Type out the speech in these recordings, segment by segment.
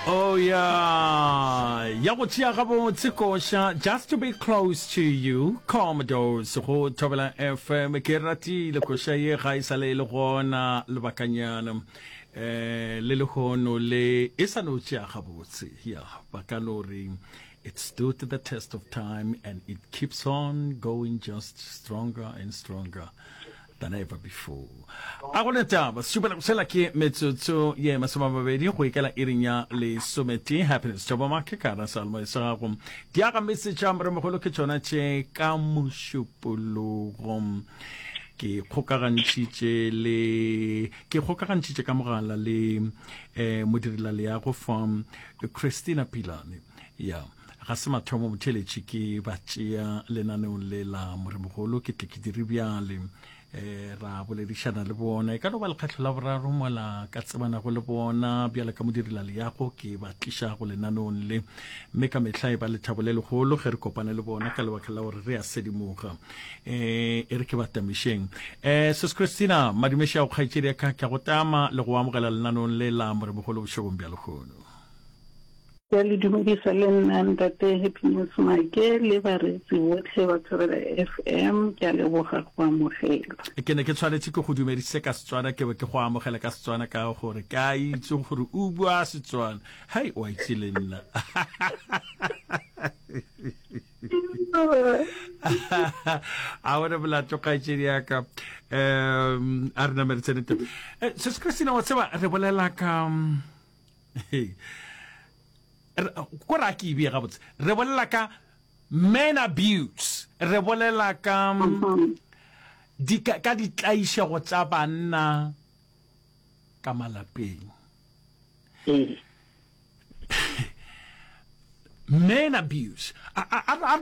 Oh yeah, ya go tšea gabotse koša Just to be close to you, Commodores go Thobela FM. Ke ratile koša ye ga e sa le e le gona lebakanyana. Eh le lehono le e sa no tšea gabotse. Yeah, ba ka no re it stood the test of time and it keeps on going just stronger and stronger. than ever before. A go ne taba, šupela go sela ke metsotso ye masomamabedi go ikela iring ya lesometee. Happiness Jobo Make ka ra seyalemoya sa gago. Diaga metse tša moremogolo ke tšona tše ka mošupologo. Ke kgokagantšhitše le ke kgokagantšhitše ka mogala le eh, modirelaleago fa Christina Pilane. Ya. Ga se mathomo motheeletši ke ba tšea lenaneong le la Moremogolo, ke tle ke dire bjale. E, ra boledišana le bona, e ka no ba lekgetlho la boraro mola ka tsebanago le bona bjale ka modirelaleago ke ba tliša go lenaneong le, mme ka mehla e ba lethabo le legolo ge re kopane le bona ka lebaka la gore re a sedimoga. E, e re ke ba tamišeng. E, Sis Christina, madumeši a go kgaetšedi ya ka, ke a go tama le go amogela lenaneong le la Moremogolo bošegong bja lehono. Ke a le dumedisa le nna Ntate Happiness Make le bareetsi bohle ba Thobela FM. Ke a leboga go amogelwa. Ke ne ke tshwanetse ke go dumedise ka Setswana, ke be ke go amogela ka Setswana ka gore ke a itse gore o bua Setswana. Hei, wa itse le nna. A bone molato kgaetšedi ya ka. Um, a re name re tsene teng. Eh, Sis Christina, wa tseba re bolela ka ko ra ke ebee gabotse re bolela ka man abuse re bolela ka mm-hmm. di ka, ka ditlaišego tša banna ka malapeng ee. man abuse a re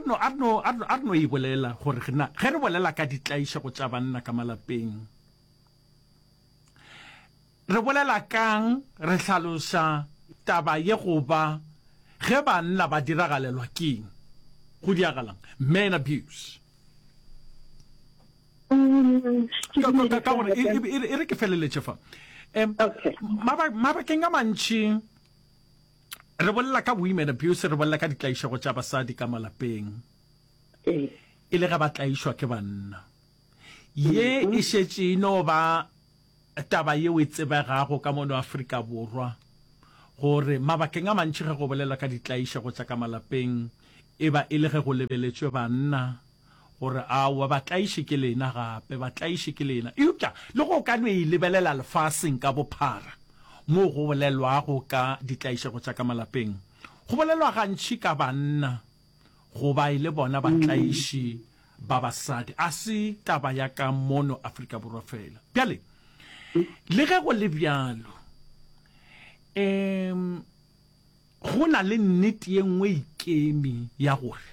no e bolela gore ge re bolela ka ditlaišego tša banna ka malapeng Re bolela ka'ng? Re hlaloša taba ye go ba ge banna ba diragalelwa ke'ng? Go diagalang? Man abuse. Ka, ka gore e, e, e re ke feleletše fa. Um, okay. Mabakeng a mantši re bolela ka women abuse, re bolela ka ditlaišego tša basadi ka malapeng. E le ge ba tlaišwa ke banna. Ye e šetše e no ba taba yeo e tsebegago ka mono Afrika Borwa gore mabakeng a mantši ge go bolelwa ka ditlaišego tša ka malapeng e ba e le ge go lebeletšwe banna gore aowa batlaiši ke lena gape batlaiši ke lena. Eupša le go ka no e lebelela lefaseng ka bophara moo go bolelwago ka ditlaišego tša ka malapeng go bolelwa gantši ka banna go ba e le bona batlaiši ba basadi. A se taba ya ka mono Afrika Borwa fela. Bjale, le ge go le bjalo, um go na le nnete ye nngwe ikemi ya gore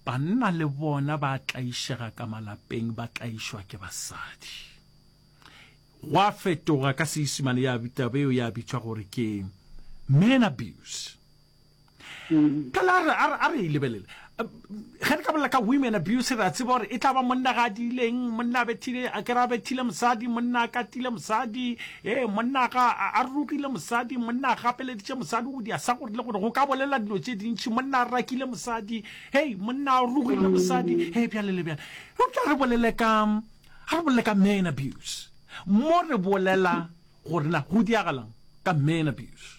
banna le bona ba tlaišega ka malapeng, ba tlaišwa ke basadi. Gwa fetoga ka Seisimane ya taba eo ya bitšwa gore ke man abuse. Phela a re, a re, a re e lebelele. Ge re ka bolela ka women abuse, re a tseba gore e tla ba monna ga a diileng, monna a bethile, a kere a bethile mosadi, monna a katile mosadi, ee, monna ga a rogile mosadi, monna a gapeleditše mosadi go dia sa gore le gore, go ka bolela dilo tše dintši, monna a rakile mosadi, hei, monna a rogile mosadi, hei, bjale le bjale. Eupša re bolele ka, a re bolele ka man abuse. Mo re bolela gore na go diagalang ka man abuse.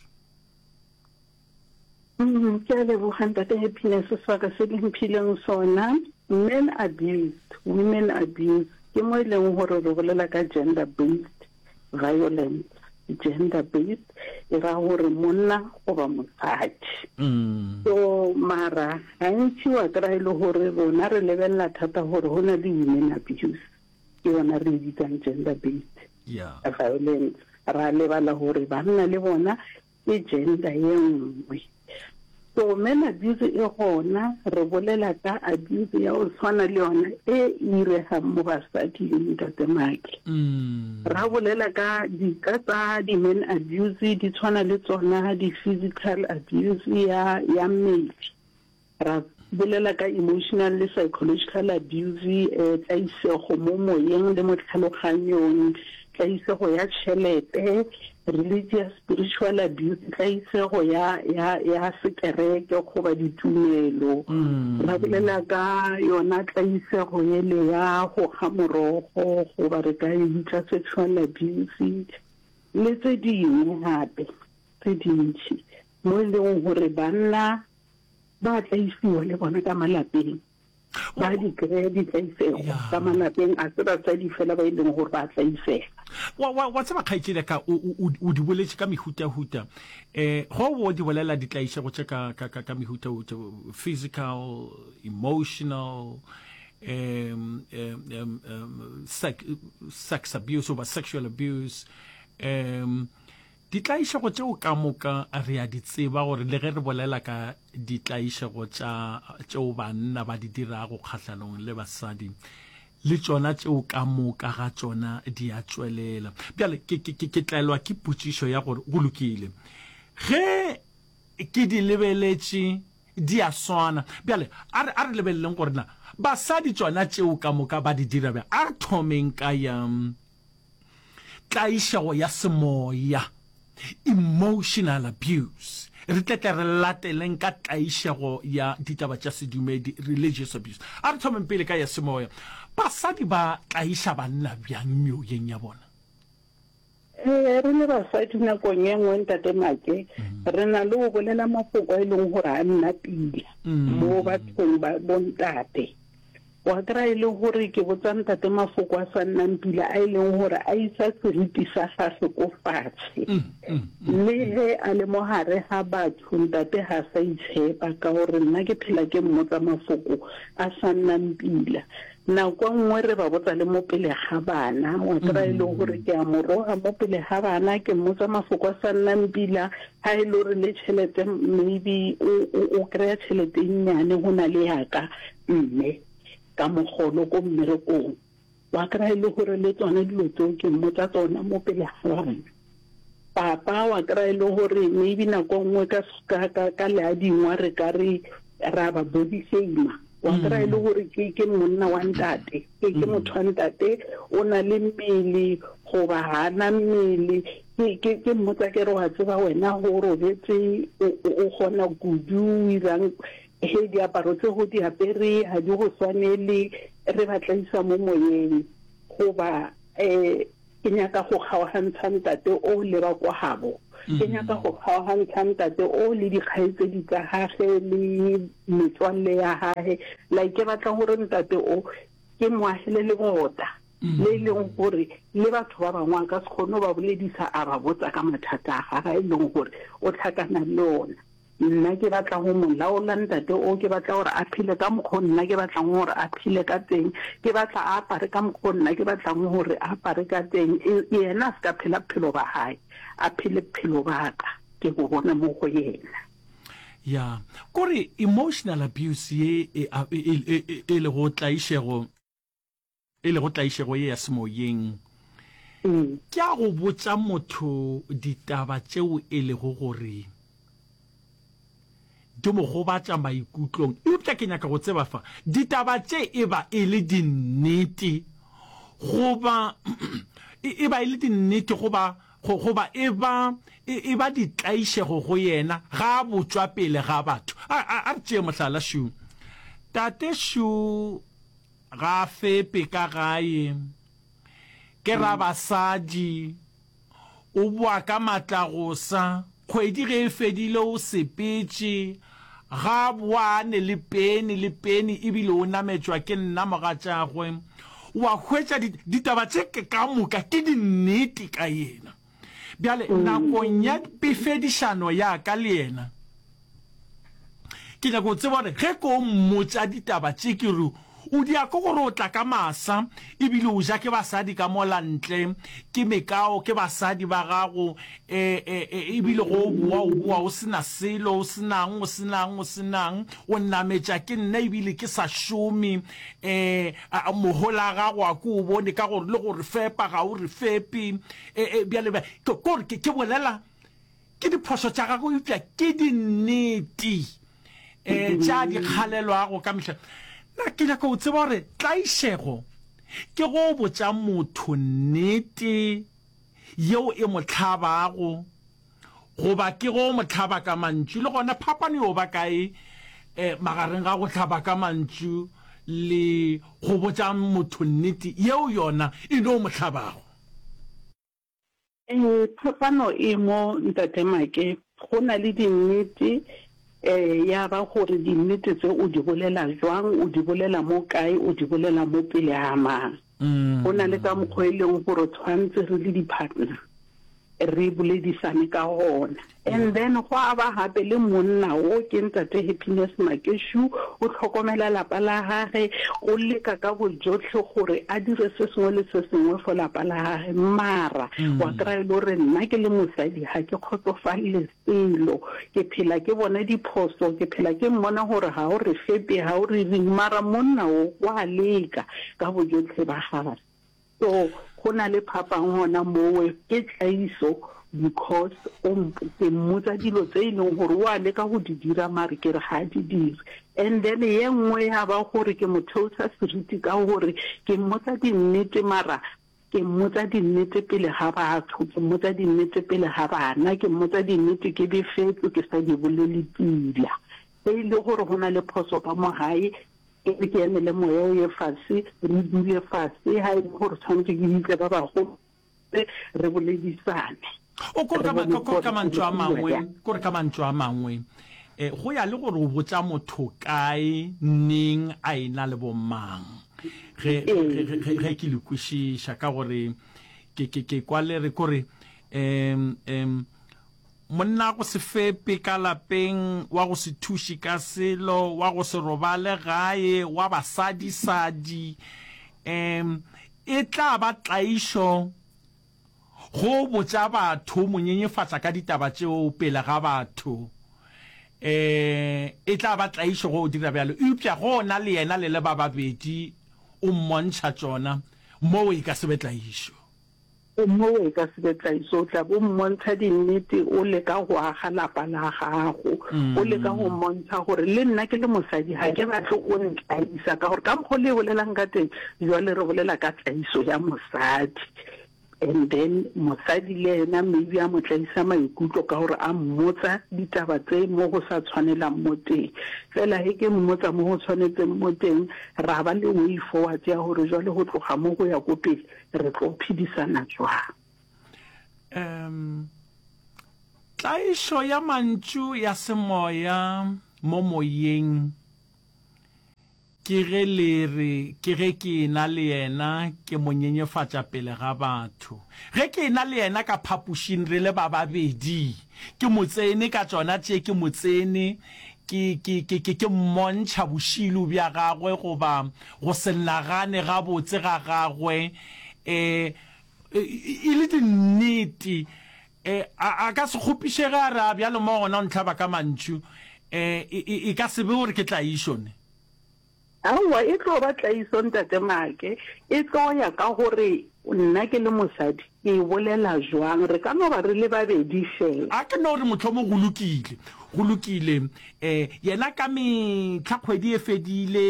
Ke a leboga Ntate Happiness sebaka se le mphileng sona. Men abuse, women abuse ke mo e leng gore re bolela ka gender based violence. Gender based e ra gore monna goba mosadi. So mara gantši wa kry-a e le gore rona re lebelela thata gore go na le women abuse ke yona re e bitsang gender based violence. Ra lebala gore banna le bona Ke gender ye nngwe. So men abuse e gona, re bolela ka abuse ya go tshwana le yona e iregang mo basading, Ntate Make. Ra bolela ka dika tsa di men abuse di tshwana le tsona di physical abuse ya ya mmele. Ra bolela ka emotional le psychological abuse, tlaisego mo moyeng le mo tlhaloganyong, tlaisego ya tšhelete. Religious spiritual abuse, tlaisego ya, ya, ya sekereke goba ditumelo. Ra bolela ka yona tlaisego yele ya go kga morogo goba re ka e bitša sexual abuse le tse dingwe gape tse dintši mo e leng gore banna ba tlaisiwa le bona ka malapeng. Ba di kry-a ditlaisego ka malapeng, a se basadi fela ba e leng gore ba tlaisega. Wa, wa, wa tseba kgaetšedi ya ka, o, o, o di boletše ka mehutahuta. Um go o di bolela ditlaišego tše ka, ka, ka, ka mehutahuta, physical, emotional, um, um, um, um, sex, sex abuse goba sexual abuse, um, Ditlaišego tšeo ka moka re a di tseba gore le ge re bolela ka ditlaišego tša tšeo banna ba di dirago kgahlanong le basadi, le tšona tšeo ka moka ga tšona di a tšwelela. Bjale ke, ke, ke, ke tlelwa ke potšišo ya gore, go lokile, ge ke di lebeletše di a swana. Bjale a re, a re lebeleleng gore na basadi tšona tšeo ka moka ba di dira bjang. A re thomeng ka ya. Tlaišego ya semoya, emotional abuse. Re tle tle re lateleng ka tlaišego ya ditaba tša sedumedi, religious abuse. A re thomeng pele ka ya semoya. Basadi ba tlaiša banna bjang meoyeng ya bona? Ee, re le basadi nakong e nngwe Ntate Make, re na le go bolela mafoko a e leng gore a nna pila mo bathong ba bontate. Wa kry-a e le gore ke botsa ntate mafoko a sa nnang pila a e leng gore a isa seriti sa gagwe ko fatshe. Le ge a le mo gare ga batho ntate ga sa itshepa ka gore nna ke phela ke mmotsa mafoko a sa nnang pila. Nako e nngwe re ba botsa le mo pele ga bana, wa kry-a e le gore ke a mo roga mo pele ga bana, ke mmotsa mafoko a sa nnang pila, ga e le gore le tšhelete maybe o kry-a tšhelete e nnyane go na le ya ka. Mme ka mogolo ko mmerekong, wa kry-a e le gore le tsona dilo tseo ke mmotsa tsona mo pele ga bana. Papa wa kry-a e le gore maybe nako nngwe ka, ka, ka, ka leadingwa re ka re ra ba body shamer. Wa kry-a e le gore ke, ke monna wa ntate, ke, ke motho wa ntate, o na le mmele goba ga a na mmele. Ke, ke, ke mmotsa ke re wa tseba wena go robetse o, o, o kgona kudu, o irang. He diaparo tse go di apere ga di go swanele, re ba tlaisa mo moyeng. Goba, eh, ke nyaka go kgaogantsha ntate o le ba kwa gabo. Ke nyaka go kgaogantsha ntate o le dikgaetsedi tsa gage le metswalle ya gage. Like ke batla gore ntate o ke mo agele lebota le e leng gore le batho ba bangwe a ka se kgone go ba boledisa a ba botsa ka mathata a gage a e leng gore o tlhakana le ona. Nna ke batla go mo laola ntate o, ke batla gore a phele ka mokgo nna ke batlang gore a phele ka teng, ke batla a apare ka mokgo nna ke batlang gore a apare ka teng, e, yena a se ka phela bophelo ba hae, a phele bophelo ba ka, ke bo bone mo go yena. Ya, kore emotional abuse ye e, e, e, e, e lego tlaišego. e lego tlaišego ye ya semoyeng, ke a go botša motho ditaba tšeo e lego gore di mo gobatša maikutlong. Eupša ke nyaka go tseba fa, ditaba tše e ba e le dinnete goba e ba e le dinnete goba goba e ba e ba ditlaišego go yena ga a botšwa pele ga batho. A, a, a re tšee mohlala, Shu. Tate Shu Ga a fepe ka gae. Ke rabasadi. O boa ka matlagosa. Kgwedi ge e fedile o sepetše. Ga a boa a ne le peni le peni ebile o nametšwa ke nna mogatšagwe. Wa hwetša di, ditaba tše ka moka ke dinnete ka yena. Bjale nakong ya pefedišano ya ka le yena, ke nyaka go tseba gore ge ko mmotša ditaba tše ke re o di ya ke gore o tla ka masa ebile o ja ke basadi ka mola ntle ke mekao ke basadi ba gago e, e, e, ebile go o boa o boa o sena selo o senang o senang o senang o nametša ke nna ebile ke sa šome um mohola gago a ko o bone ka gore le gore fepa ga o re fepe E, e, bjale, bjale, ke, kore ke, ke bolela ke diphošo tša gagwe, eupša ke dinnete e, tša di kgalelwago ka mehla. Na ke nyaka go tseba gore tlaišego ke go botša motho nnete. yeo e mo hlabago goba ke go mo hlaba ka mantšu? Le gona phapano yo ba kae eh, magareng ga go hlaba ka mantšu le go botša motho nnete yeo yona e no mo hlabago? Ee, phapano e mo, Ntate Make. Go na le dinnete, eh, ya ba gore dinnete tse o di bolela jwang, o di bolela mo kae, o di bolela mo pele ga mang. Go na le ka mokgwa e leng gore tshwantse re le di-partner re boledisane ka gona. And then gwa ba gape le monna wo ke Ntate Happiness Makeshu, o hlokomela lapa la gage, o leka ka bojohle gore a dire se sengwe le se sengwe for lapa la gage. Mara wa kry-a e le gore nna ke le mosadi ga ke kgotsofalele selo, ke phela ke bona diphoso, ke phela ke mmona gore ga o re fepe, ga o re reng, mara monna wo wa leka ka bojohle ba gage. So go na le phapang gona mowe, ke tlaiso because o ke mmotsa dilo tse e leng gore o a leka go di dira mare ke re ga a di dire. And then ye nngwe ya ba gore ke mo theosa seriti ka gore ke mmotsa dinnete mara ke mmotsa dinnete pele ga batho, ke mmotsa dinnete pele ga bana, ke mmotsa dinnete ke befetswe ke sa di bolele pila. Ge e le gore go na le phoso ka mo gae, Ke re ke emele moya o ye fase, re dule fase, ha e le gore tshwanetse ke bitse ba bagolo re boledisane. O kore ka kore ka mantšu a mangwe, kore ka mantšu a mangwe, eh, go ya le gore o botša motho kae, neng, a ena le bomang. Ge, ge, ge, ge ke le kwešiša, ka gore ke, ke, ke kwa le re, kore, um, um, Monna go se fepe ka lapeng, wa go se thuše ka selo, wa go se robale gae, wa basadisadi, um e tla ba tlaišo go botša batho, mo nyenyefatša ka ditaba tšeo pele ga batho. Um e tla ba tlaišo go dira bjalo. Eupša go na le yena le le ba babedi o mmontšha tšona, moo e ka se be tlaišo. Gomme o ka se be tlaiso, o tla be o mmontšha dinnete, o leka go aga lapa la gago, o leka go mmontšha gore le nna ke le mosadi ga ke batle o ntlaisa, ka gore ka mokgwa o le bolelang ka teng, jwale re bolela ka tlaiso ya mosadi. And then mosadi le yena maybe a mo tlaisa maikutlo ka gore a mmotsa ditaba tse mo go sa tshwanelang mo teng. Fela ge ke mmotsa mo go tshwanetseng mo teng, ra ba le way forward ya gore jwale go tloga mo go ya ko pele, Re tlo phedisana jwang? Um, tlaišo ya mantšu ya semoya mo moyeng ke ge le re ke ge ke ena le yena ke mo nyenyefatša pele ga batho. Ge ke ena le yena ka phapošing re le ba babedi, ke mo tsene ka tšona tše ke mo tsene ke, ke, ke, ke, ke mmontšha bošilo bja gagwe goba go se nagane gabotse ga gagwe e, e le dinnete. E, a, a ka se kgopišege a re, A bjalo mo gona o ntlhaba ka mantšu. E, e, e ka se be gore ke tlaišo ne? Aowa, e tlo ba tlaiso, Ntate Make. E tlo ya ka gore nna ke le mosadi ke e bolela jwang. Re ka no ba re le babedi fela. A ke no re mohlomong go lokile, go lokile. E, yena ka mehla kgwedi e fedile,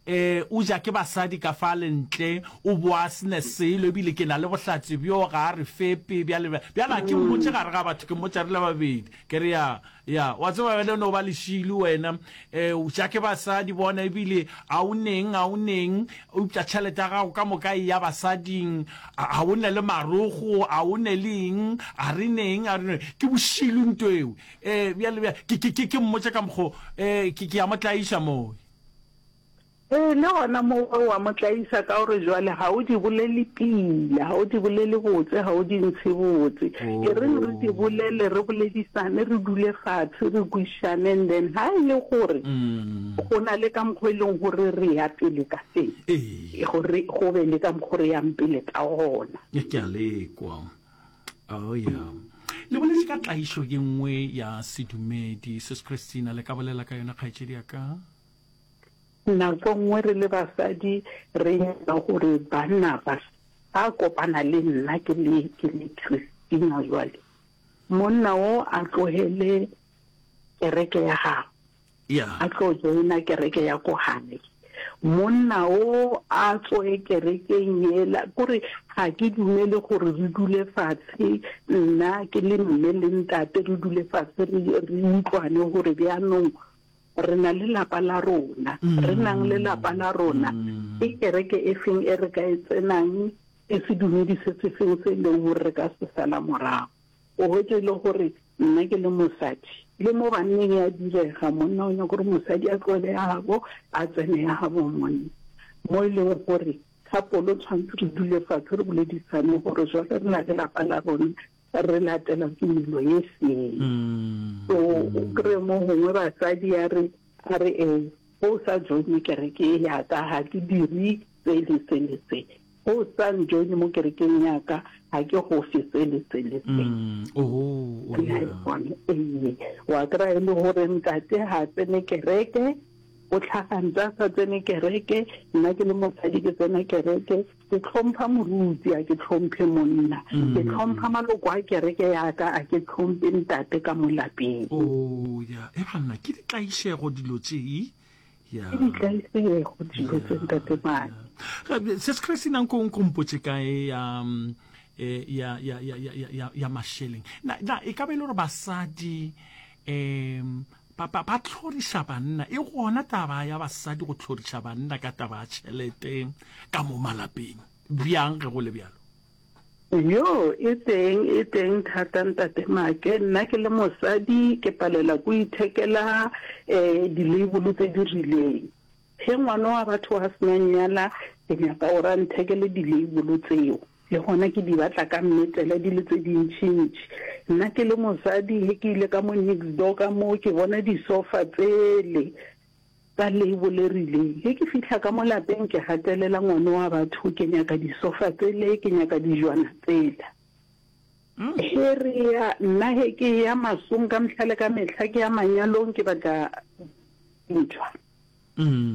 e, o ja ke basadi ka fale ntle, o boa a se ne selo, ebile ke na le bohlatse bjo, ga a re fepe, bjale, bjale. Bjale a ke mmotše gare ga batho, ke mmotša re le babedi. Ke re, Ya, ya, wa tseba wena o no ba lešilo wena. E, o ja ke basadi bona, ebile a o neng, a o neng, eupša tšhelete ya gago ka moka e ya basading, a, a o ne le marogo, a o ne le eng, a re neng, a re neng. Ke bošilo nto eo. E, bjale, bjale, ke, ke, ke, ke mmotše ka mokgo, e, ke, ke a mo tlaiša moo. Ee, le gona moo o a mo tlaisa ka gore jwale ga o di bolele pila, ga o di bolele botse, ga o di ntshe botse. E reng re di bolele, re boledisane, re dule fatshe, re kwišane and then ga e le gore go na le ka mokgwa e leng gore re ya pele ka teng, gore go be le ka mokgwa re yang pele ka gona. Ke a le kwa. Oh yeah. Le boletše ka tlaišo ye nngwe ya sedumedi. Sis Christina, le ka bolela ka yona kgaetšedi ya ka? Nako nngwe re le basadi re nyaka gore banna ba ba kopana le nna ke le ke le Christina jwale monna o a tlohele kereke ya gagwe Yeah. a tlo joina kereke ya ko gae. Monna o a tsoe kerekeng yela, kore ga ke dumele gore re dule fatshe, nna ke le mme le ntate re dule fatshe re, re utlwane gore bjanong re na le lapa la rona, re nang le lapa la rona, ke kereke e feng e re ka e tsenang, ke sedumedi se se feng se e leng gore re ka se sala morago. O hwetše e le gore nna ke le mosadi, le mo banneng ya direga, monna o nyaka gore mosadi a tlohele ya gabo a tsene ya gabo monna. Mo e leng gore couple tshwanetse re dule fatshe re boledisane gore jwale re na le lapa la rona, re latela tumelo ye feng. So o kry-e mo gongwe basadi ya re, a re ee, ge o sa joine kereke ye ya ka ga ke dire se le se le se. Ge o sa njoine mo kerekeng ya ka ga ke go fe se le se le se. Oh, oh, yeah. Ee, wa kry-a e le gore ntate ga a tsene kereke, o tlhaga ntse a sa tsene kereke, nna ke le mosadi ke tsena kereke, Ke hlompha moruti, a ke hlomphe monna. Ke hlompha maloko a kereke ya ka, a ke hlomphe ntate ka mo lapeng. Oh, ya. E banna, ke ditlaišego dilo tše, e? Ya. Ke ditlaišego dilo tše, ntate Mane. Sis Christina, nko, nko mpotše ka e ya, e, ya, ya, ya, ya, ya, ya, ya mašeleng. Na, na e ka ba e le gore basadi, um, Ba, ba, ba hloriša banna. E gona taba ya basadi go hloriša banna ka taba ya tšhelete ka mo malapeng. Bjang ge go le bjalo? Yo, e teng, e teng thata Ntate Make. Nna ke le mosadi ke palela ko ithekela um di-label tse di rileng. Ge ngwana wa batho a sena nnyala, ke nyaka gore a nthekele di-label tseo. Le gona ke di batla ka mmetele di le tse dintšintši. Nna ke le mosadi ge ke ile ka mo next door ka mo ke bona disofa tsele tsa label e rileng. Ge ke fihla ka mo lapeng ke gatelela ngwana wa batho ke nyaka disofa tsele, ke nyaka dijwana tsela. Ge re ya, nna ge ke eya masong ka mehla le ka mehla ke ya manyalong ke batla ntšhwa.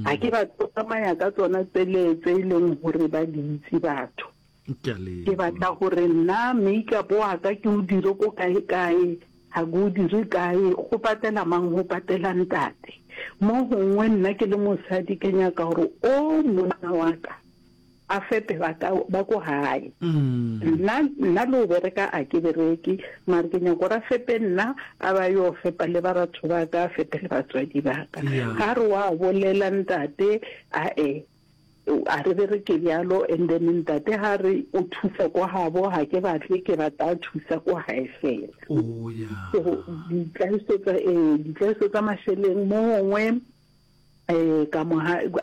Ga ke batle go tsamaya ka tsona tsele tse e leng gore ba di itse batho. Ke batla gore nna makeup wa ka ke o dire ko kae kae, ga ke o dire kae, go patela mang, go patela ntate. Mo gongwe nna ke le mosadi ke nyaka gore o monna wa ka a fepe ba ka ba ko gae. Nna nna le go bereka a ke bereke, mare ke nyaka gore a fepe nna a ba yo fepa le ba batho ba ka, a fepe le batswadi ba ka. Ga re wa bolela ntate ae a re bereke bjalo and then ntate ga re o thusa ko gabo ga ke batle ke batla a thusa ko gae fela. Oh yeah. So ditlaiso tsa ee ditlaiso tsa mašeleng mo gongwe um ka mo.